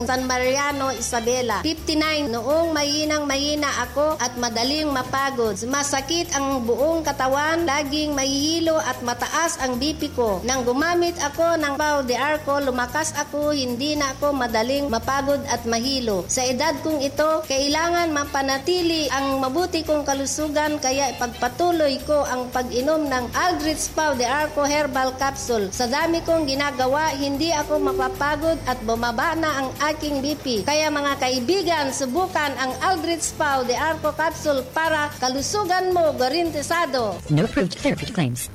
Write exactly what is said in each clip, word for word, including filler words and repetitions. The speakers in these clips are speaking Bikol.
San Mariano, Isabela. Fifty-nine, noong mahinang-mahina ako at madaling mapagod. Masakit ang buong katawan, laging mahihilo at mataas ang B P ko. Nang gumamit ako ng Pau de Arco, lumakas ako, hindi na ako madaling mapagod at mahilo. Sa edad kong ito, kailangan mapanatili ang mabuti kong kalusugan, kaya ipagpatuloy ko ang pag-inom ng Aldrich Pau de Arco Herbal Capsule. Sa dami kong ginagawa, hindi ako mapapagod at bumaba na ang aking B P. Kaya mga kaibigan, subukan ang Aldrich Pau de Arco Capsule para kalusugan mo garantisado. No approved therapeutic claims.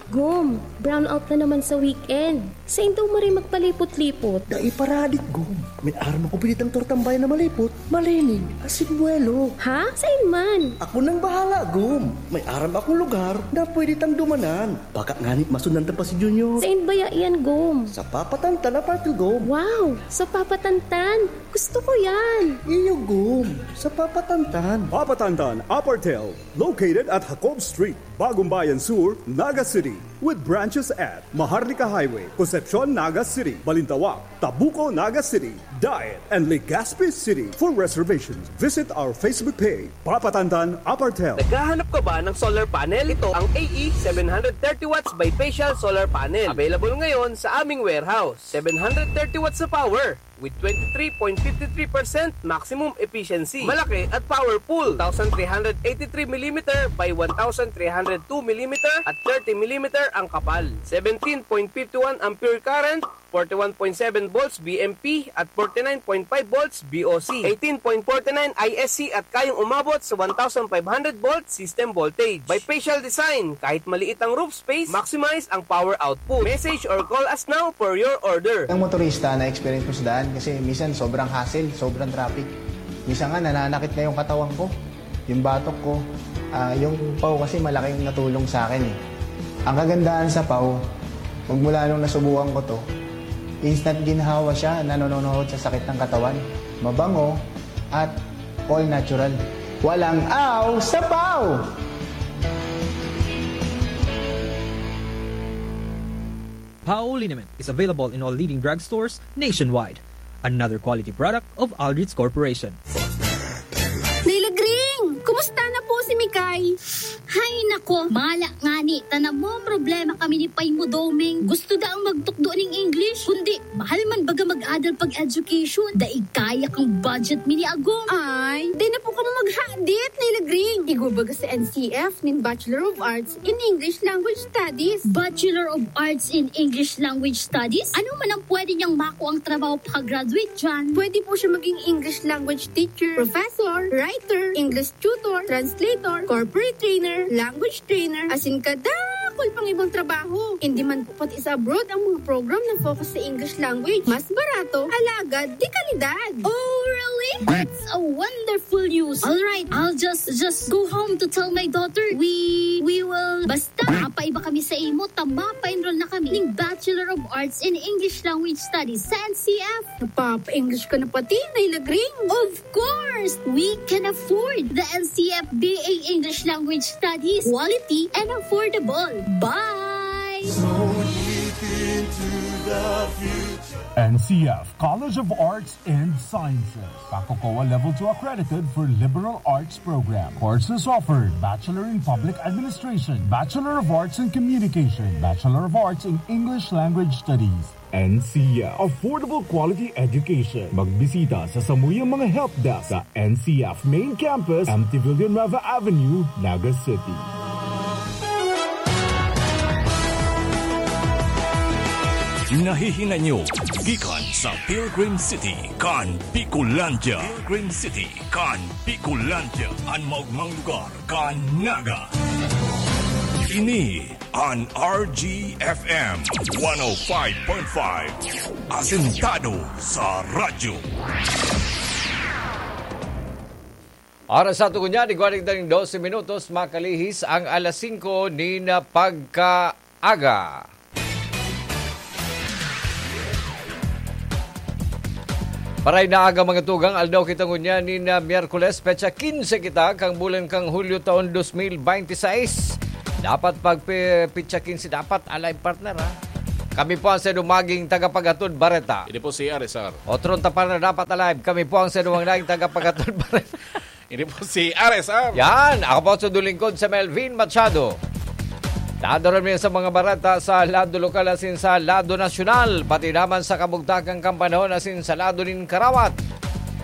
Gom, brownout na naman sa weekend. Sain daw maray magpalipot-lipot? Dai paradik, Gom. May aram ako pinitang tortang bayan na malipot, malinig, asin buwelo. Ha? Sain man? Ako nang bahala, Gom. May aram akong lugar na pwede tang dumanan. Baka ngani masundan ta pa si Junior. Sain baya iyan, Gom? Sa Papa Tantan, Apartel, Gom. Wow! Sa Papa Tantan! Gusto ko yan! Iyo, Gom. Sa Papa Tantan. Papa Tantan, Apartel. Located at Jacob Street, Bagumbayan Sur, Naga City, with branches at Maharlika Highway, Concepcion, Naga City, Balintawak, Tabuco, Naga City, Daet, and Legazpi City. For reservations, visit our Facebook page, Papa Tantan Apartel. Naghahanap ka ba ng solar panel? Ito ang A E seven hundred thirty watts bifacial solar panel. Available ngayon sa aming warehouse. Seven hundred thirty watts na power with twenty-three point five three percent maximum efficiency. Malaki at powerful. Two thousand three hundred eighty-three millimeter by one thousand three hundred two millimeter at thirty millimeter ang kapal. Seventeen point five one ampere current, forty-one point seven volts V M P at forty-nine point five volts V O C. Eighteen point forty-nine I S C at kayang umabot sa one thousand five hundred volt system voltage. Bifacial design, kahit maliit ang roof space, maximize ang power output. Message or call us now for your order. Ang motorista na experience ko sa daan kasi minsan sobrang hassle, sobrang traffic. Minsan nga nananakit na yung katawan ko, yung batok ko. Ah, yung Pau kasi malaking natulong sa akin eh. Ang kagandahan sa Pau, magmula nung nasubukan ko to, instant ginhawa siya, nanononohod sa sakit ng katawan. Mabango at all natural. Walang aw sa Pau! Pau liniment is available in all leading drugstores nationwide. Another quality product of Aldrich Corporation. Nilagring! Kumusta na po si Mikay? Hay nako, mala ngani, ta namomroblema kami ni Pay mo, Doming. Gusto daang magtukdo ning English, kundi mahal man baga mag-adal pag-education. Dai kaya kang budget mi ni Agong. Ay, di na po kamo maghadit, Nay Lagring. Igwa baga sa N C F nin Bachelor of Arts in English Language Studies. Bachelor of Arts in English Language Studies? Ano man ang pwede niyang makuang trabaho pag-graduate diyan? Pwede po siya maging English language teacher, professor, writer, English tutor, translator, corporate trainer, language trainer, asin kadakul pang ibang trabaho. Hindi man po pati sa abroad ang mga program na focus sa English language. Mas barato, alagad, de kalidad. Oh, really? That's a wonderful news. All right, I'll just, just go home to tell my daughter. We, we will, basta, mapaiba kami sa imo, ta mapa-enroll na kami ning Bachelor of Arts in English Language Studies sa N C F. Napapa-English ka na pati, Nay Lagring. Of course, we can afford the N C F B A English Language Studies. Quality and affordable. Bye! N C F College of Arts and Sciences. Kakokowa Level two accredited for liberal arts program. Courses offered: Bachelor in Public Administration, Bachelor of Arts in Communication, Bachelor of Arts in English Language Studies. N C F. Affordable quality education. Magbisita sa samuyang mga help desk sa N C F Main Campus, M T Villanueva Avenue, Naga City. Nahihinay nyo gikan sa Pilgrim City kan Bicolandia. Pilgrim City kan Bicolandia, an maogmang lugar kan Naga. Ini an R G F M one oh five point five. Asentado sa radyo. Oras sa tugon niya, igwa ning dose minutos, makalihis ang alas singko nin pagkaaga. Paray na aga, mga tugang, aldaw kita ngunyan nin, ah, Miyerkules, petsa kinse kita kan bulan kan Hulyo taon dos mil bente seis. Dapat pag pe-, petsa kinse dapat, alay partner, ha? Kami po ang sa dumaging tagapaghatod bareta. Ini po si R S R. Otro tapar na dapat alive. Kami po ang sa dumaging tagapaghatod bareta. Ini po si R S R. Yan. Ako po sa dulingkod sa Melvin Machado. Dadaron mi sa mga bareta sa lado lokal asin sa lado nasyonal, pati naman sa kabugtakan kan panahon asin sa lado nin karawat.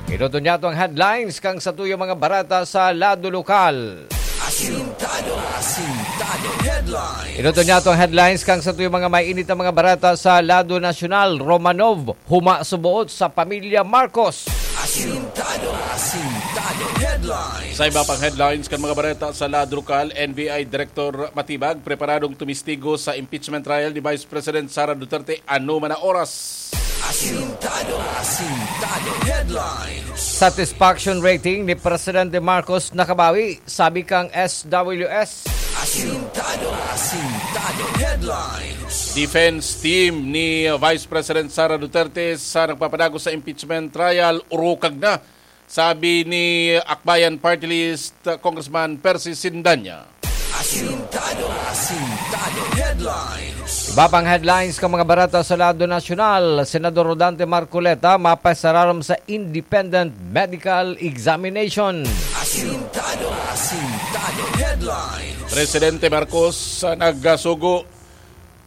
Ito to niya to ang headlines kan satuyang mga bareta sa lado lokal. Asintado, asintado headlines. Ito to niya to ang headlines kan satuyang mga mainit na mga bareta sa lado nasyonal. Romanov, huma suboot sa pamilya Marcos. Asintado, asintado headlines. Sa iba pang headlines kan mga bareta sa lado lokal, N B I Director matibag, preparadong tumistigo sa impeachment trial ni Vice President Sara Duterte anoman na oras. Asintado, asintado headlines. Satisfaction rating ni Presidente Marcos nakabawi, sabi kang S W S. Asintado, asintado headlines. Defense team ni Vice President Sara Duterte sa nagpapadagos sa impeachment trial, urukag na, sabi ni Akbayan Party List Congressman Percy Sindanya. Asintado, asintado headlines. Iba pang headlines kan mga bareta sa lado nasyonal, Senador Rodante Marcoleta mapasararom sa independent medical examination. Asintado, asintado headlines. Presidente Marcos, ah, nagsugo,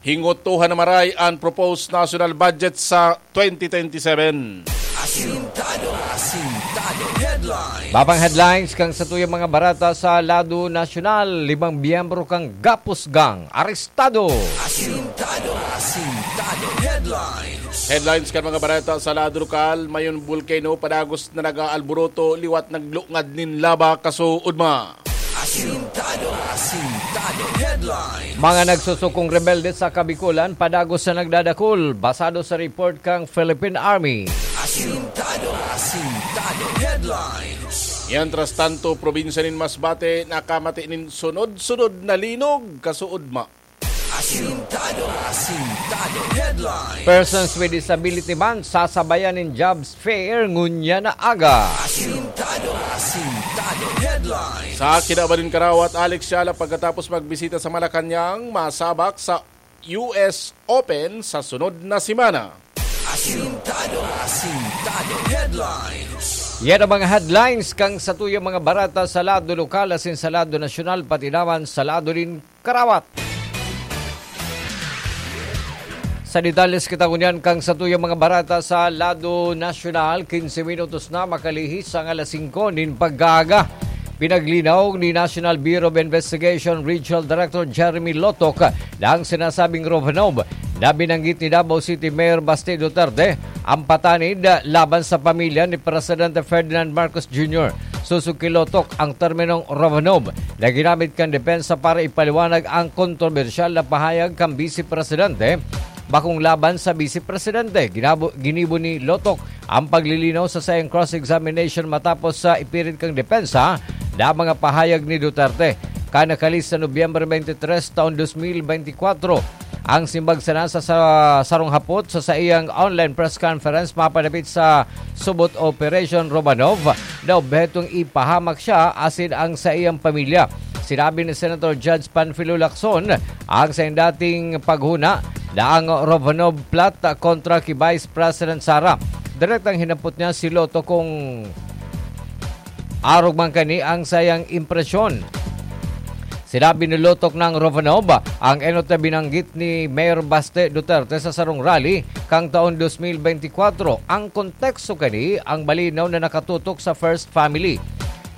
hingotohan na maray an proposed national budget sa twenty twenty-seven. Asintado, asintado headlines. Iba pang headlines kan satuyang mga bareta sa lado nasyonal, limang miyembro kan Gapus Gang arestado. Asintado, asintado headlines. Headlines kan mga bareta sa lado lokal, Mayon Volcano, padagos na nag-aalburoto liwat naglungad nin laba kasuodma. Asintado, asintado headlines. Mga nagsusukong rebelde sa Kabikolan, padagos na nagdadakul, basado sa report kan Philippine Army. Asintado, asintado headlines. Mientras tanto, probinsya nin Masbate, nakamati nin sunod-sunod na linog kasuodma. Asintado, asintado headlines. Persons with disability man sasabayan nin jobs fair ngunyan na aga. Asintado, asintado headlines. Sa kinaban nin karawat, Alex Yala pagkatapos magbisita sa Malacañang, masabak sa U S Open sa sunod na semana. Asintado, asintado headlines. Yan ang mga headlines kan satuyang mga bareta sa lado lokal asin sa lado nasyonal, pati naman sa lado nin karawat. Sa detalles kita ngunyan kan satuyang mga bareta sa lado nasyonal, quince minutos na makalihis ang alas singko nin pag-aaga. Pinaglinaw ni National Bureau of Investigation Regional Director Jeremy Lotok na ang sinasabing Romanov na binanggit ni Davao City Mayor Baste Duterte ang patanid laban sa pamilya ni Presidente Ferdinand Marcos Junior. Susog ki Lotok, ang terminong Romanov na ginamit kan depensa para ipaliwanag ang kontrobersyal na pahayag kan Bise Presidente bakong laban sa Bise Presidente. Ginabo-, ginibo ni Lotok ang paglilinaw sa saiyang cross-examination matapos sa ipirit kang depensa na mga pahayag ni Duterte. Kan nakalis sa Nobyembre twenty-three taon twenty twenty-four, ang simbag sana sa, sa sarong hapot sa saiyang online press conference mapadapit sa Subot Operation Romanov na obhetong ipahamak siya asin ang saiyang pamilya. Sinabi ni Senator Judge Panfilo Lacson ang saiyang dating paghuna na ang Romanov plot kontra ki Vice President Sara. Direktang hinapot niya si Lotok kung arog man kani ang saiyang impresyon. Sinabi ni Lotok na ang Romanov ang enot na binanggit ni Mayor Baste Duterte sa sarong rally kan taon twenty twenty-four. Ang konteksto kani ang malinaw na nakatutok sa First Family.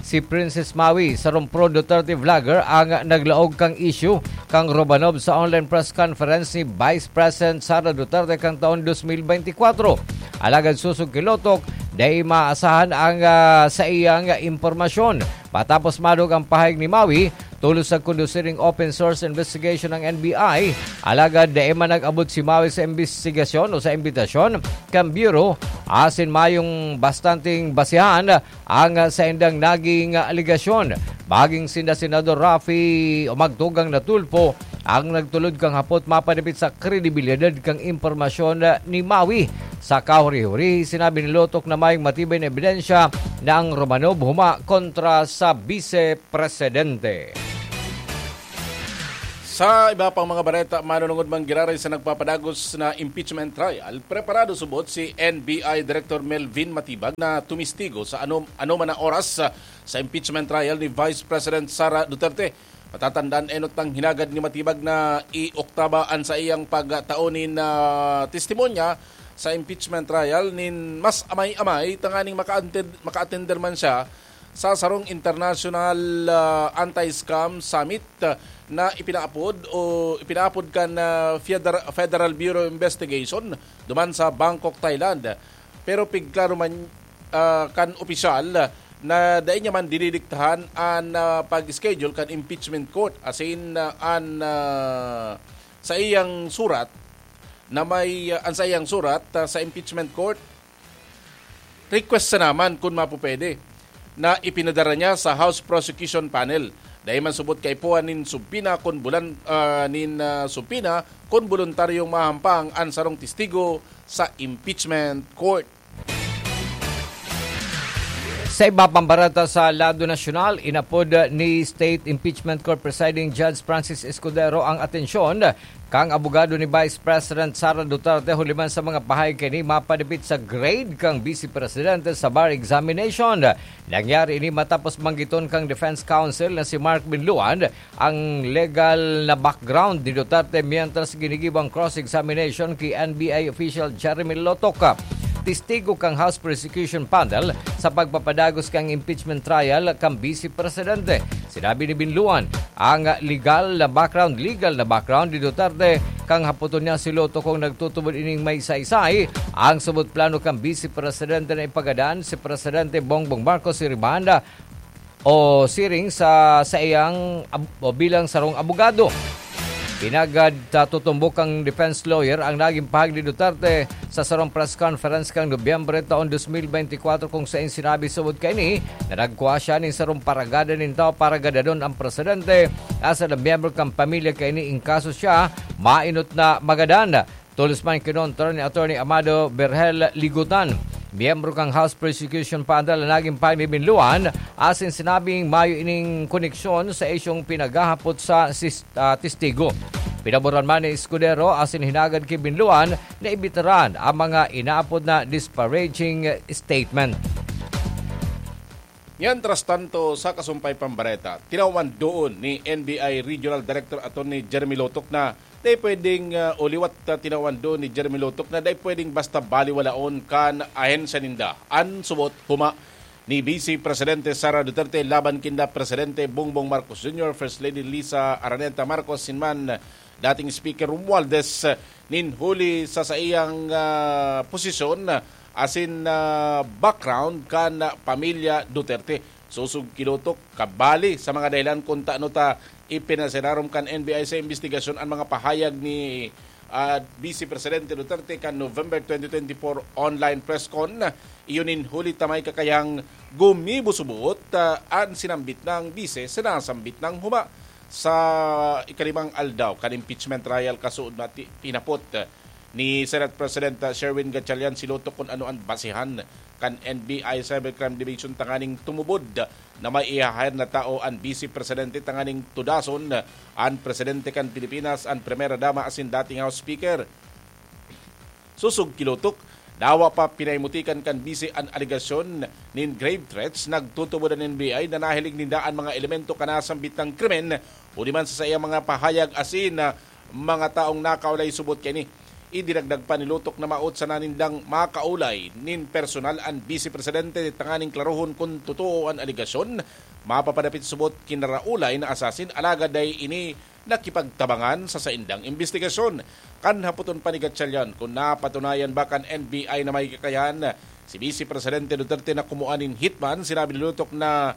Si Princess Maui, sarong pro-Duterte vlogger, ang naglaog kan isyu kan Romanov sa online press conference ni Vice President Sara Duterte kan taon twenty twenty-four. Alagad susog ki Lotok, dai maasahan ang, ah, saiyang impormasyon. Matapos madog ang pahayag ni Maui, tolos nagkondusir nin open source investigation ang N B I. Alagad dai man nag-abot si Maui sa imbestigasyon o sa imbitasyon kan Bureau, asin mayong bastanteng basehan ang saindang naging alegasyon. Maging sinda Senador Raffy o Magtugang na Tulfo ang nagtulod kan hapot mapadapit sa kredibilidad kan impormasyon ni Maui. Sa kahuri-huri, sinabi ni Lotok na mayong matibay na ebidensya na ang Romanov huma kontra sa Bise Presidente. Sa iba pang mga bareta, manunungod man giraray sa nagpapadagos na impeachment trial, preparado subot si N B I Director Melvin Matibag na tumistigo sa ano, ano man na oras sa, sa impeachment trial ni Vice President Sara Duterte. Matatandaan, enot nang hinagad ni Matibag na i-oktaba an saiyang pagtao nin, ah, testimonya sa impeachment trial nin mas amay-amay tanganing maka-attend-, maka-attender man siya sa sarong International, ah, Anti-Scam Summit, ah, na ipinaapod o ipinaapod kan, ah, Feder-, Federal Bureau of Investigation duman sa Bangkok, Thailand. Pero pigklaro man, ah, kan opisyal na dai niya man dinidiktahan an, ah, pag-schedule kan impeachment court, asin, ah, an, ah, saiyang surat na may, ah, an saiyang surat, ah, sa impeachment court, request sana man kun mapupwede na ipinadara niya sa House Prosecution Panel. Dai man subot kaipuhan nin subpina kun bulan, ah, nin, ah, subpina kun boluntaryong mahampang an sarong testigo sa impeachment court. Sa iba pang bareta sa lado nasyonal, inapod ni State Impeachment Court Presiding Judge Francis Escudero ang atensyon kan abogado ni Vice President Sara Duterte huli man sa mga pahayag kaini mapadapit sa grade kan Vice Presidente sa bar examination. Nangyari ini matapos banggiton kan defense counsel na si Mark Binluan ang legal na background ni Duterte mientras ginigibo ang cross-examination ki N B I official Jeremy Lotoc, testigo kan House Prosecution Panel sa pagpapadagos kan impeachment trial kan Vice Presidente. Sinabi ni Binluan ang legal na background, legal na background ni Duterte, kan hapoton niya si Lotoc kung nagtutubod ining may saysay ang subot plano kan Vice Presidente na ipagadan si Presidente Bongbong Marcos Siribanda o siring sa saiyang ab-, o bilang sarong abogado. Pinagad sa tutumbok kang defense lawyer ang naging pahayag ni Duterte sa sarong press conference kang Nobyembre taon dos mil bente kwatro, kung saen sinabi subot kaini na nagkua siya nin sarong paragada nin tawo para gadadon ang presidente, asa na miyembro kan pamilya kaini in kaso siya mainot na magadan. Tolos man kinontra ni Attorney Amado Berhel Ligutan, miyembro kan House Prosecution Panel na naging pahayag ni Binluan, asin sinabing mayo ining koneksyon sa isyong pinaghahapot sa sis-, ah, testigo. Pinaboran man ni Escudero asin hinagad ki Binluan na ibitaran ang mga inaapod na disparaging statement. Mientras tanto, sa kasumpay pang bareta, tinawan doon ni N B I Regional Director Attorney Jeremy Lotoc na dai pwedeng, ah, o liwat, ah, tinawan doon ni Jeremy Lotoc na dai pwedeng basta baliwalaon kan ahensya ninda an subot huma ni Vice Presidente Sara Duterte laban kinda Presidente Bongbong Marcos Junior, First Lady Liza Araneta Marcos, sin man dating Speaker Romualdez nin huli sa saiyang, ah, posisyon, ah, asin, ah, background kan pamilya Duterte. Sosog ki Lotoc, kabali sa mga dahilan kun tano ta ipinasirarom kan N B I sa imbestigasyon an mga pahayag ni, ah, Vice Presidente Duterte kan November twenty twenty-four online press con. Iyo nin huli ta may kakayang gumibo subot, ah, an sinambit nang bise sa nasambit nang huma. Sa ikalimang aldaw kan impeachment trial, kasuod na ti-, tinapot, ah, ni Senate President, ah, Sherwin Gatchalian si Lotoc kun ano an basehan kan N B I Cybercrime Division tanganing tumubod na may i-hire na tao an Vice Presidente tanganing tudason an Presidente kan Pilipinas, an Primera Dama asin dating House Speaker. Sosog ki Lotoc, dawa pa pinaimutikan kan bise an alegasyon nin grave threats, nagtutubod an N B I na nahiling ninda an mga elemento kan nasambit na krimen, huli man sa saiyang mga pahayag asin, ah, mga taong nakaulay subot kaini. Idinagdag pa ni Lotoc na maot sana nindang makaulay nin personal an Bise Presidente tanganing klarohon kun totoo an alegasyon. Mapapadapit subot kinaraulay na assassin, alagad dai ini nakipagtabangan sa saindang imbestigasyon. Kan hapoton pa ni Gatchalian kun napatunayan ba kan N B I na may kakayahan si Bise Presidente Duterte na kumuha nin hitman, sinabi ni Lotoc na,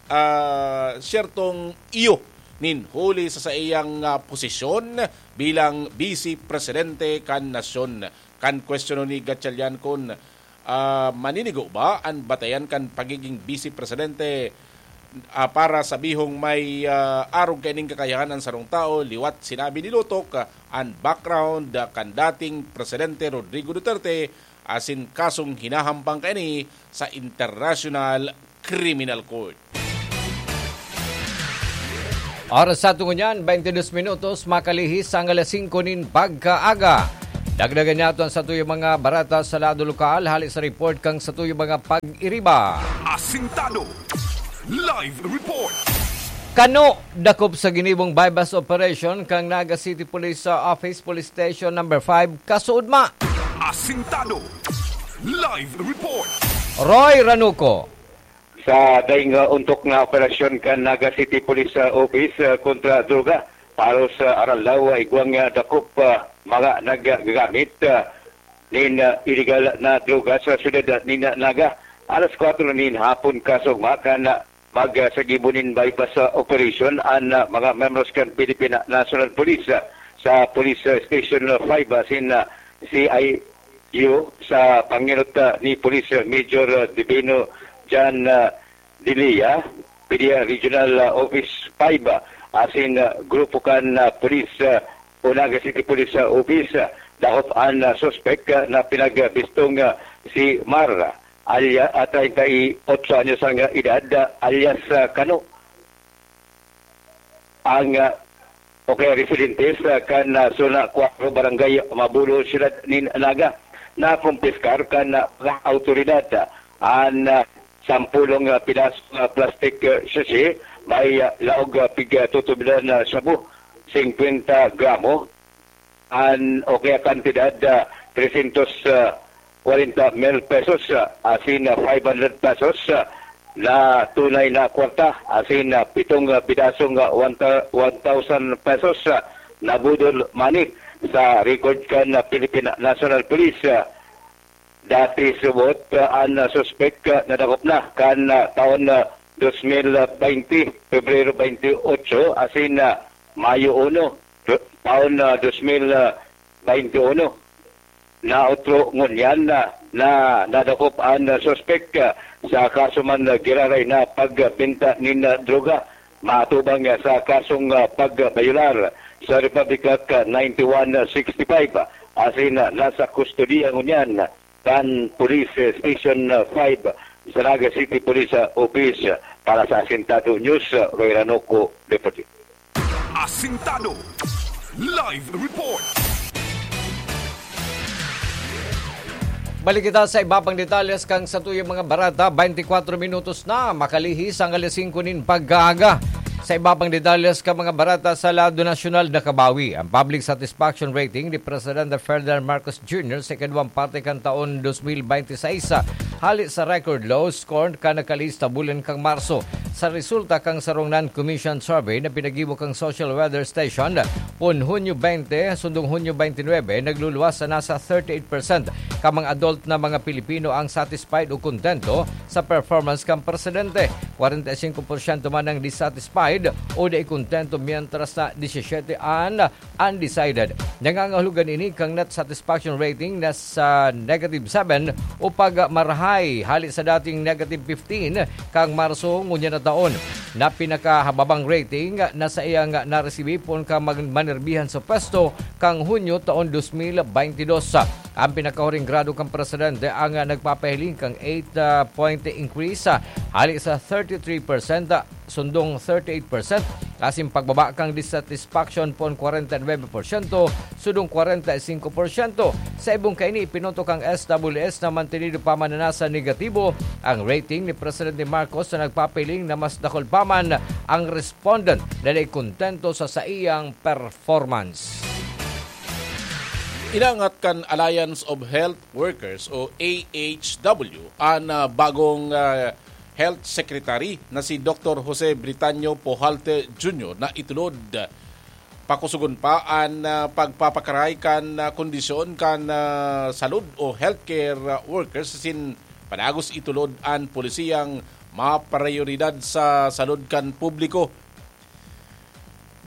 ah, siyertong iyo nin huli sa saiyang, ah, posisyon bilang Bise Presidente kan nasyon. Kan kwestiyonon ni Gatchalian kun, ah, maninigo ba an batayan kan pagiging Bise Presidente, ah, para sabihong may, ah, arog kaining kakayahan an sarong tawo, liwat sinabi ni Lotoc, ah, an background, ah, kan dating Presidente Rodrigo Duterte asin kasong hinahampang kaini sa International Criminal Court. Oras sa tungo niyan, twenty-two minutos, makalihis ang alas singko nin pagkaaga. Dagdagan niya ito ang satuyang mga barata sa lado lokal, hali sa report kang satuyang mga pag-iriba. Asintado. Live report. Kano dakop sa ginibong buy-bust operation kang Naga City Police, uh, Office, Police Station Number five, Kasuudma. Asintado. Live report. Roy Ranuco. Sa daing, uh, ontok na operasyon kan Naga City Police, uh, Office, uh, kontra droga, paros sa Aralao, uh, igwang, uh, dakop, uh, mga naggagamit, uh, nin, uh, iligal na droga sa siyudad, uh, nin, uh, Naga. Alas kwatro nin hapon, kasugma kan, uh, mag, uh, sagibo nin buy-bust, uh, operation an, uh, mga membros kan Philippine National Police, uh, sa Police, uh, Station, uh, five, uh, sin, uh, C I U sa pangenot, uh, ni Police, uh, Major, uh, Divino John, uh, Dilia, P D R Regional, uh, Office five, uh, asin, uh, grupo kan, uh, Police, uh, o Naga City Police, uh, Office, uh, dakop an, uh, suspek, uh, na pinagbistong, uh, si Mar, alya, uh, treinta y ocho anyos ang, uh, edad, uh, alias, uh, Kano. Ang, uh, o kaya residente sa kan, uh, Zona Cuatro, Barangay Mabulo, Siyudad nin Naga, nakumpiskar kan, uh, mga awtoridad, uh, an, uh, sampulong, uh, pidaso nga plastic, uh, sachet, may, uh, laog, uh, pig, uh, tutubilan na shabu, singkwenta gramo, an, o kaya kantidad, ah, trescientos kwarenta mil pesos, ah, asin, ah, five hundred pesos, ah, na tunay na kwarta, asin, ah, pitong, ah, pidasong, ah, one thou-, one thousand pesos, ah, na budol money sa record kan, ah, Philippine National Police, ah. Dati subot, ah, an, ah, suspek, ah, nadakop na kan, ah, taon, ah, dos mil baynte, Pebrero baynte otso, asin, ah, Mayo uno, taon, ah, dos mil baynte uno. Na otro ngunyan na, na nadakop an, ah, suspek, ah, sa kaso man, ah, giraray na pagbenta nin, ah, droga, matubang, ah, sa kasong, ah, pagbayular sa Republic Act, ah, ninety-one sixty-five, asin, ah, nasa kustodiya ngunyan kan Police Station five sa Naga City Police Office. Para sa Asintado News, Roy Ranoco, Deputy. Asintado. Live report. Balik kita sa iba pang detalles kan satuyang mga barata. Twenty-four minutos na, makalihis ang alas singko nin pagkaaga. Sa iba pang detalles kan mga barata sa lado nasyonal, nakabawi ang public satisfaction rating ni Presidente Ferdinand Marcos Junior sa ikaduwang parte kan taon dos mil baynte sais, hali sa record low score kan nakalista bulan kan Marso. Sa resulta kan sarong non-commissioned survey na pinaggibo kan Social Weather Station, poon Hunyo baynte, sundong Hunyo baynte nuebe, nagluluwas sa nasa thirty-eight percent kan mga adult na mga Pilipino ang satisfied o kontento sa performance kan presidente. Kwarenta y singko porsyento man ang dissatisfied o dai kontento, mientras na disisiyete an undecided. Nangangahulugan ini kan net satisfaction rating na sa negative seven o pagmarahay hali sa dating negative fifteen kan Marso ngunyan na taon. Na pinakahababang rating na saiyang naresibi poon kan mag-, manerbihan sa pwesto kan Hunyo taon dos mil baynte dos. Ang pinakahuring grado kan presidente ang nagpapahiling kan eight, ah, point increase, ah, hali sa thirty-three percent, ah, sundong thirty-eight percent, asin pagbaba kan dissatisfaction poon kwarenta y nuebe porsyento, sundong kwarenta y singko porsyento. Sa ibong kaini, ipinoto kan S W S na mantenido pa man na nasa negatibo ang rating ni Presidente Marcos, na nagpapahiling na mas dakul pa man ang respondent na dai kontento sa saiyang performance. Inaangat kan Alliance of Health Workers o A H W an, ah, bagong, ah, Health Secretary na si Doktor Jose Britanio Pujalte Junior na itulod. Pakusogon pa an, ah, pagpapakaray kan, ah, kondisyon kan, ah, salud o healthcare, ah, workers asin padagos itulod an polisiyang maprayoridad sa salud kan publiko.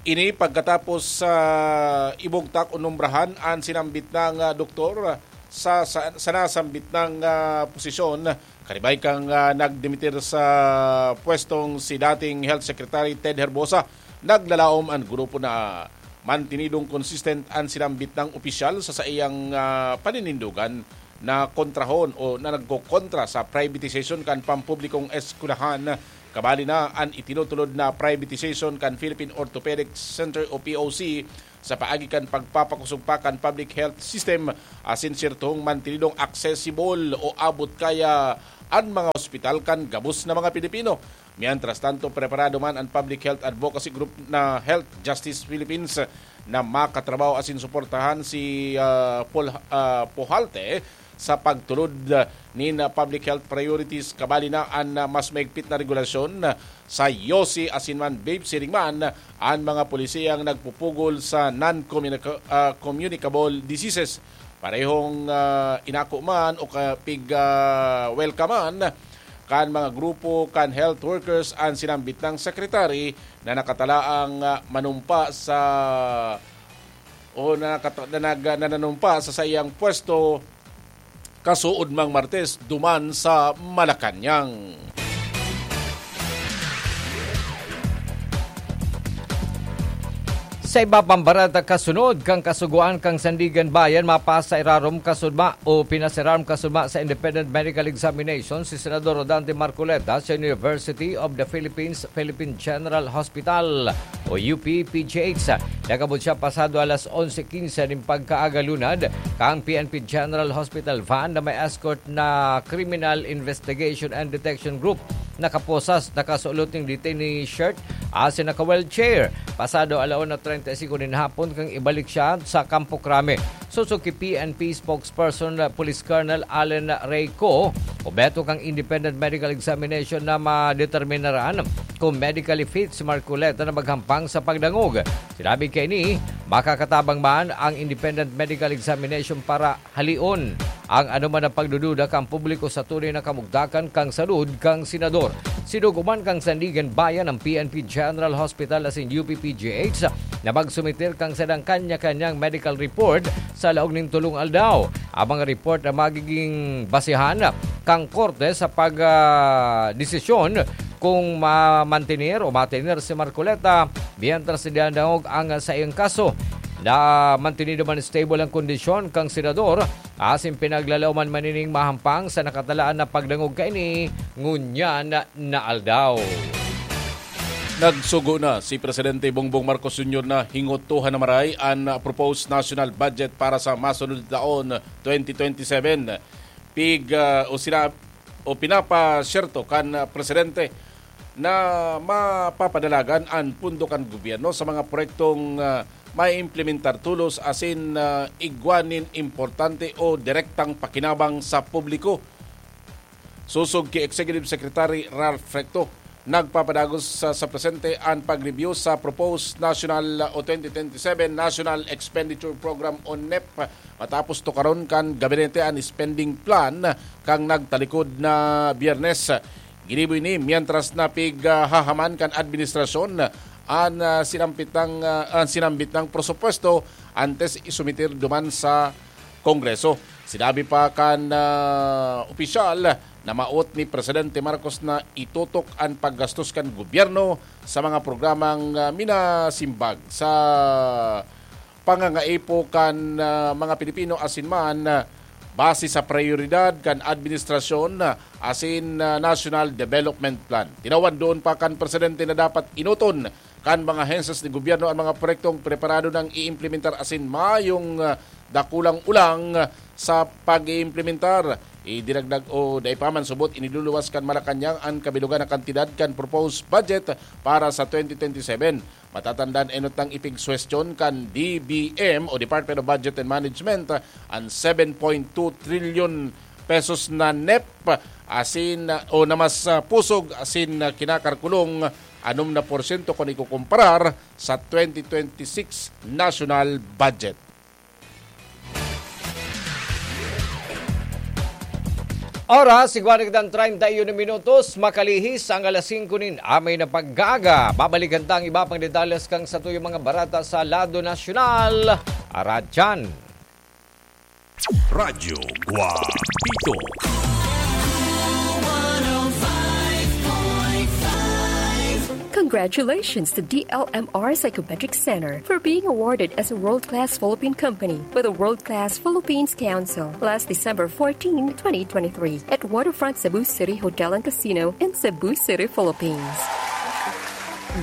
Ini pagkatapos sa ibugtak o nombrahan an sinambit nang, ah, doktor sa, sa, sa nasambit nang, ah, posisyon, karibay kan, ah, nagdimitir sa pwestong si dating Health Secretary Ted Herbosa. Naglalaom an grupo na mantinidong consistent an sinambit nang opisyal sa saiyang, ah, paninindogan na kontrahon o na nagkokontra sa privatization kan pampublikong eskwelahan. Kabali na an itinutulod na privatization kan Philippine Orthopedic Center o P O C sa paagi kan pagpapakosog pa kan public health system asin sirtong mantenidong accessible o abot kaya an mga ospital kan gabos na mga Pilipino. Mientras tanto, preparado man an public health advocacy group na Health Justice Philippines na makatrabaho asin suportahan si, ah, Pol-, ah, Pujalte sa pagtulod nin public health priorities, kabali na an mas maigpit na regulasyon sa yosi asin man vape, siring man an mga polisiyang nagpupugol sa non-communica-, ah, communicable diseases. Parehong, ah, inako man o ka-, pig, ah, welcome man kan mga grupo kan health workers an sinambit nang secretary na nakatalaang, ah, manumpa sa o na nakata-, na nag-, na nanumpa sa saiyang pwesto kasuodmang Martes duman sa Malacañang. Sa iba pang barata, kasunod kan kasugoan kan Sandigan Bayan, mapasa irarom kasudma o pinasirarom kasudma sa independent medical examination si Senador Rodante Marcoleta sa University of the Philippines Philippine General Hospital o U P P G H. Nag-abot siya pasado alas onse quince nin pagkaaga lunad kan P N P General Hospital van na may escort na Criminal Investigation and Detection Group. Nakaposas, nakasulot ning detainee shirt asin naka-wheelchair. Pasado ala una treinta y cinco nin hapon kan ibalik siya sa Kampo Crame. Sosog ki P N P spokesperson, Police Colonel Allen Reyco, obheto kan independent medical examination na madeterminaran kung medically fit si Marcoleta na maghampang sa pagdangog. Sinabi kaini, makakatabang man ang independent medical examination para halion ang anoman na pagdududa kan publiko sa tunay na kamugtakan kan salud kan senador. Sinugo man kan Sandigan Bayan ang P N P General Hospital asin U P P G H na magsumiter kan sadang kanya-kanyang medical report sa laog nin tolong aldaw. Ang mga report na magiging basehan kan korte sa pag, ah, desisyon kung mamantener o matener si Marcoleta mientras dinadangog ang saiyang kaso. Na mantenido man stable ang kondisyon kan senador asin pinaglalaoman man ining mahampang sa nakatalaan na pagdangog kaini ngunyan na aldaw. Nagsugo na si Presidente Bongbong Marcos Junior na hingotohan na maray an proposed national budget para sa masunod na taon, twenty twenty-seven. Pig, ah, o sina-, o pinapasyerto kan, ah, Presidente na mapapadalagan an pondo kan gobyerno sa mga proyektong, ah, maiimplementar tolos asin, ah, igwa nin importante o direktang pakinabang sa publiko. Sosog ki Executive Secretary Ralph Recto, nagpapadagos sa, sa presente an pag-review sa proposed national o twenty twenty-seven National Expenditure Program o nep, matapos tukaron kan gabinete an spending plan kan nagtalikod na Biyernes. Ginibo ini mientras na pig, ah, hahaman kan administrasyon an, ah, sinampitang, ah, an sinambit nang presupuesto antes isumiter duman sa Kongreso. Sinabi pa kan, ah, opisyal na maot ni Presidente Marcos na itutok an paggastos kan gobyerno sa mga programang, ah, minasimbag sa pangangaipo kan, ah, mga Pilipino asin man, ah, base sa prayoridad kan administrasyon, ah, asin, ah, National Development Plan. Tinawan duon pa kan presidente na dapat inoton kan mga hensas ni gobyerno an mga proyektong preparado nang iimplementar asin mayong, ah, dakulang ulang sa pag-iimplementar. Idinagdag o dai pa man subot iniluluwas kan Malacañang an kabilogan na kantidad kan proposed budget para sa twenty twenty-seven. Matatandaan, enot nang ipigsuwestiyon kan D B M o Department of Budget and Management an seven point two trillion pesos na nep asin, o na mas, ah, pusog asin, ah, kinakalkulong anom na porsyento kun ikukumparar sa twenty twenty-six national budget. Oras, igwa na kitang treinta y uno minutos, makalihis ang alas singko nin amay na pag-aaga. Babalikan ta ang iba pang detalles kan satuyang mga barata sa lado nasyonal. Aradyan. Radyo Guapito. Kan Congratulations to D L M R Psychometric Center for being awarded as a world-class Philippine company by the World Class Philippines Council last December fourteen, twenty twenty-three, at Waterfront Cebu City Hotel and Casino in Cebu City, Philippines.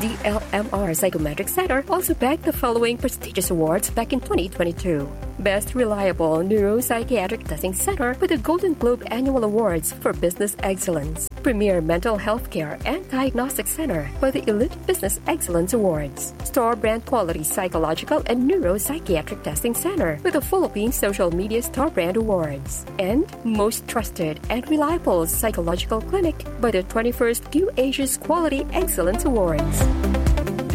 D L M R Psychometric Center also bagged the following prestigious awards back in twenty twenty-two. Best Reliable Neuropsychiatric Testing Center with the Golden Globe Annual Awards for Business Excellence. Premier Mental Health Care and Diagnostic Center by the Elite Business Excellence Awards. Star Brand Quality Psychological and Neuropsychiatric Testing Center with the Philippine Social Media Star Brand Awards. And most trusted and reliable psychological clinic by the twenty-first Q Asia's Quality Excellence Awards.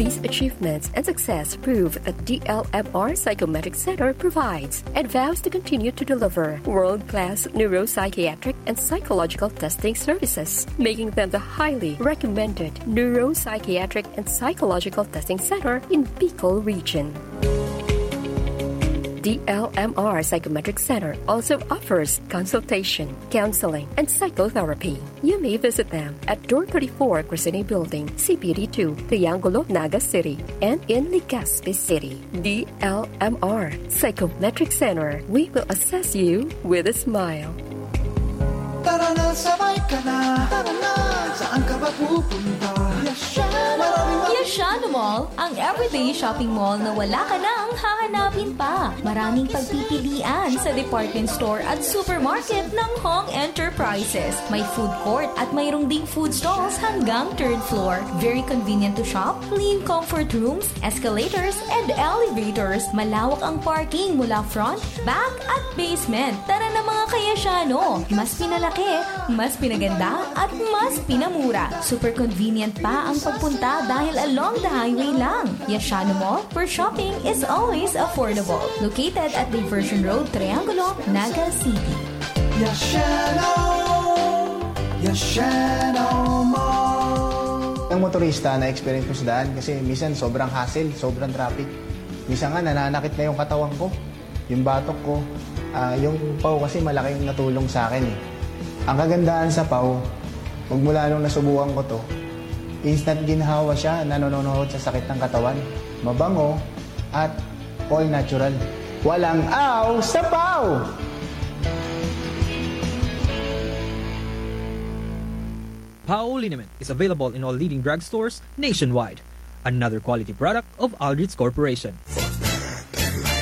These achievements and success prove that D L M R Psychometric Center provides and vows to continue to deliver world-class neuropsychiatric and psychological testing services, making them the highly recommended neuropsychiatric and psychological testing center in Bicol Region. D L M R Psychometric Center also offers consultation, counseling, and psychotherapy. You may visit them at Door thirty-four, Crescene Building, C P D two, Triangulo, Naga City, and in Legazpi City. D L M R Psychometric Center, we will assess you with a smile. Tara na, sabay ka na. Tara na, saan ka ba pupunta? Yashano Mall, ang everyday shopping mall na wala ka nang hahanapin pa. Maraming pagpipilian sa department store at supermarket ng Hong Enterprises. May food court at mayroong ding food stalls hanggang third floor. Very convenient to shop, clean comfort rooms, escalators, and elevators. Malawak ang parking mula front, back, at basement. Tara na, mga ka-Yashano! Mas pinalaki, mas pinaganda, at mas pinamura. Super convenient pa ang pagpunta dahil along the highway lang. Yashano Mall, where shopping is always affordable. Located at Diversion Road, Triangulo, Naga City. Yashano! Yashano Mall! Ang motorista na experience ko sa daan kasi minsan sobrang hassle, sobrang traffic. Minsan nga nananakit na yung katawan ko, yung batok ko. Ah, yung paw kasi malaking natulong sa akin eh. Ang kagandahan sa paw, magmula nung nasubukan ko to, instant ginhawa siya na nanonohod sa sakit ng katawan. Mabango at all natural. Walang aw sa paw! Pao liniment is available in all leading drugstores nationwide. Another quality product of Aldrich Corporation.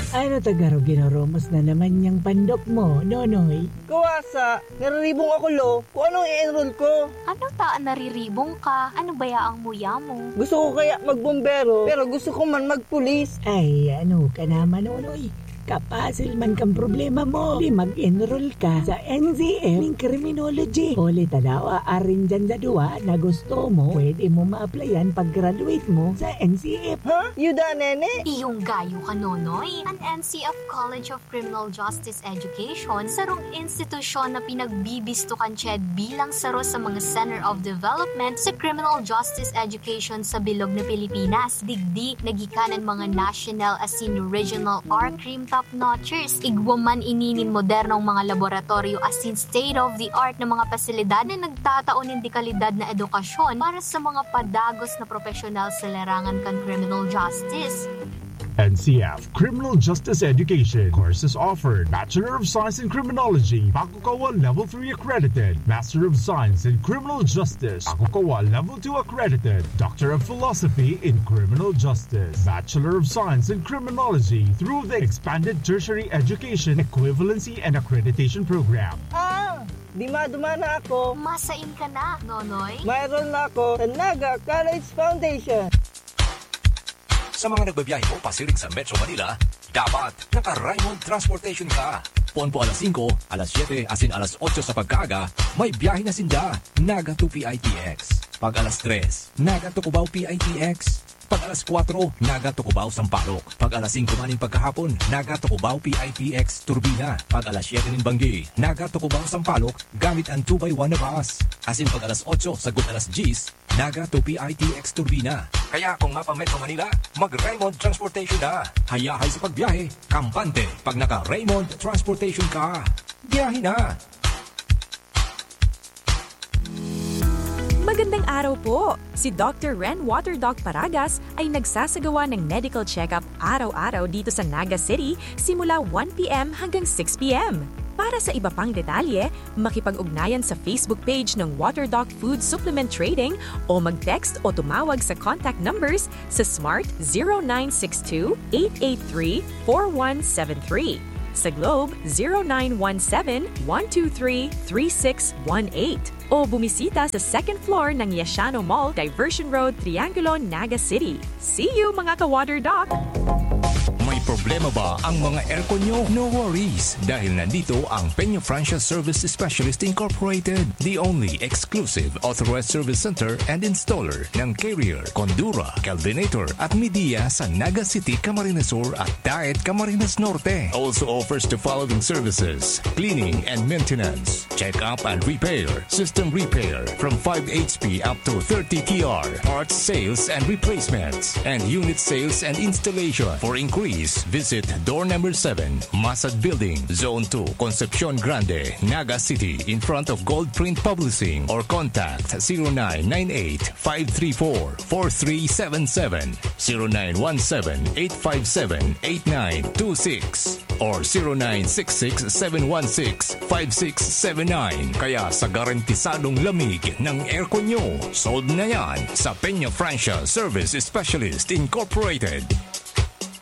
Ano ta garo ginurumos na naman niyang pandok mo, Nonoy? Kawasa, nariribong ako, Lo. Kung anong i-enroll ko. Ano ta nariribong ka? Ano baya ang muya mo? Gusto ko kaya magbombero, pero gusto ko man magpulis. Ay, ano ka naman, Nonoy? Kapasil man kang problema mo. Di mag-enroll ka sa N C F ning criminology. Huli ta daw, aarin dyan sa duwa na gusto mo, pwede mo ma-applyan pag-graduate mo sa N C F. Ha? Yuda, nene? Iyong gayo ka, Nonoy. An N C F College of Criminal Justice Education, sarong institusyon na pinagbibisto kan CHED bilang saro sa mga Center of Development sa Criminal Justice Education sa bilog na Pilipinas. Digdi, nagikanan mga national asin regional or crime top notchers. Igwa man ini nin modernong mga laboratoryo asin state-of-the-art na mga pasilidad na nagtatao nin dekalidad na edukasyon para sa mga padagos na profesional sa larangan kan criminal justice. N C F Criminal Justice Education. Courses offered: Bachelor of Science in Criminology, Pakukawa Level three accredited, Master of Science in Criminal Justice, Pakukawa Level two accredited, Doctor of Philosophy in Criminal Justice, Bachelor of Science in Criminology through the Expanded Tertiary Education Equivalency and Accreditation Program. Ah! Di madumana ako. Masain ka na, Nonoy. Mayroon na ako sa Naga College Foundation. Sa mga nagbabiyahe po pasiring sa Metro Manila, dapat naka-Raymond Transportation ka. Pon po alas singko, alas siyete, asin alas otso sa pagkaaga, may biyahe na sinda. Naga to P I T X. Pag alas tres, Naga to Cubao P I T X. Pag alas kwatro, Naga to Cubao Sampaloc. Pag alas singko man nin pagkahapon, Naga to Cubao P I T X Turbina. Pag alas siyete nin banggi, Naga to Cubao Sampaloc, gamit an two by one na bus. Asin pag alas otso sagkod alas dyes, Naga to P I T X Turbina. Kaya kung mapa-Metro Manila, mag-Raymond Transportation na. Hayahay sa pagbiyahe, kampante pag naka-Raymond Transportation ka. Biyahe na! Gandang araw po! Si Doctor Ren Water Doc Paragas ay nagsasagawa ng medical check-up araw-araw dito sa Naga City simula one p m hanggang six p m. Para sa iba pang detalye, makipag-ugnayan sa Facebook page ng Water Doc Food Supplement Trading o mag-text o tumawag sa contact numbers sa Smart zero nine six two, eight eight three, four one seven three, sa Globe zero nine one seven, one two three, three six one eight, o bumisita sa second floor ng Yashano Mall, Diversion Road, Triangulo, Naga City. See you, mga ka-Water Doc! May problema ba ang mga aircon nyo? No worries, dahil nandito ang Peña Francia Service Specialist Incorporated, the only exclusive authorized service center and installer ng Carrier, Condura, Kelvinator at Midea sa Naga City, Camarines Sur at Daet, Camarines Norte. Also offers the following services: cleaning and maintenance, check-up and repair, system repair from five H P up to thirty T R, parts sales and replacements, and unit sales and installation. For inquiries, visit door number seven, Masad Building, Zone two, Concepcion Grande, Naga City, in front of Gold Print Publishing, or contact zero nine nine eight, five three four, four three seven seven, zero nine one seven, eight five seven, eight nine two six or zero nine six six, seven one six, five six seven nine. Kaya sa garantisadong lamig ng aircon nyo, solve na yan sa Peña Francia Service Specialist Incorporated.